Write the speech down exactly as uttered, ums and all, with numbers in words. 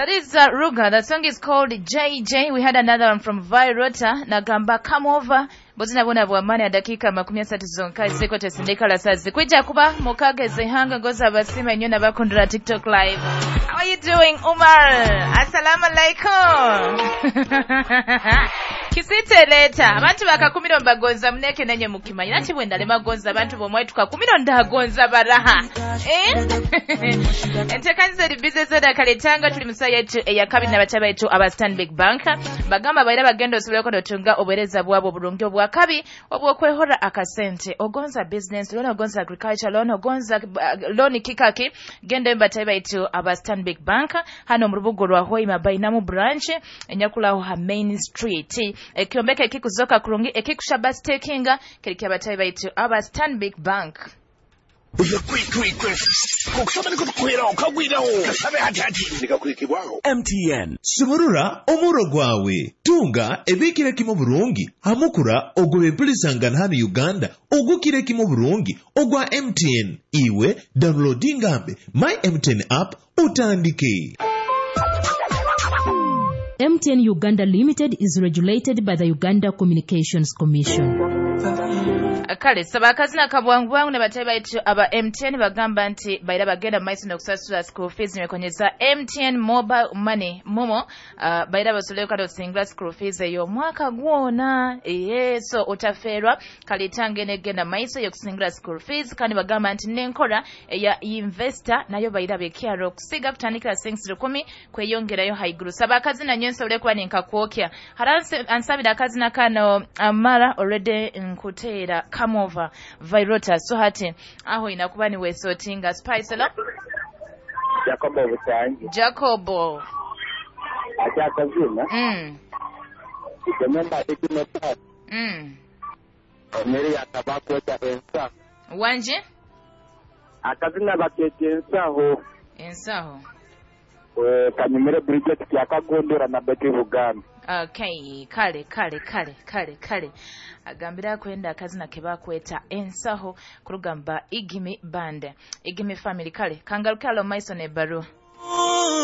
That is uh, Ruga. The song is called J J. We had another one from Virota. Nagamba come over. Bozina bona bwamani ya dakika makumi asatu zonka ziko tesindika la sazi. Kwija kuba mukageze hanga ngoza basima inyona bakundura TikTok live. How are you doing, Umar? Assalamu alaikum. Kisite leta. Abantu bakakumiro mbagonza muneke nenye mukimanyi. Nachi bwenda lema gonza abantu bomwe tukakumiro ndagonza baraha. Eh? Entekanze libize zoda kaletanga tuli musaya yetu eyakabi na bataba yetu aba Stanbic Bank. Bagamba baira bagenda osobole konotunga obuweereza bwabo obulungi obwakabi obwokwehora akasente. Ogonza business loan, ogonza agriculture loan, ogonza uh, loan kikaki. Genda mbataba yetu aba Stanbic Bank. Hano mu rubugo rwa Hoima Bainamu branch enyakulaho ha Main Street. Ekyombeke ekikuzoka kurungi ekikushaba stakinga kiri abataba yetu aba Stanbic Bank. M T N Sumurura omuro gwawe tunga ebikire kimo burungi hamukura ogwebempulisangana hano Uganda ogukire kimo burungi ogwa M T N iwe downloadingambe My M T N app utandike. M T N Uganda Limited is regulated by the Uganda Communications Commission. Kale saba akazina kabwangu bwangu ne batebe baitu aba M T N bagamba nti baira bagenda maiso n'okusasula school fees nekonyeza M T N mobile money momo uh, baira basoleka kado singla school fees eyo mwaka gwona eh so otaferwa kalitange negenda maiso yokusingla school fees kandi bagamba nti nenkora eya investor nayo baira bekyaro kusiga kutandikira six rukumi kweyongerayo haiguru. Saba akazina nyenso olekwa ninkakwokya haranse ansabira akazina kano amara already nkutera come over Virota. So hati aho inakuba ni wesotinga Spice lo Jacobo Busangi Jacobo Acha kazina mm Remember ikimeta mm Omeri akabako cha ensa Wanje akazina bakete ensaho ensaho eh kanyumire Bridget kyakagondera na Betty Buganda. Okay, kale kale kale kale kale agambira kwenda akazina kebakweta ensaho kurugamba Igimi Band Igimi Family. Kale kangaruka lo maiso ne baru.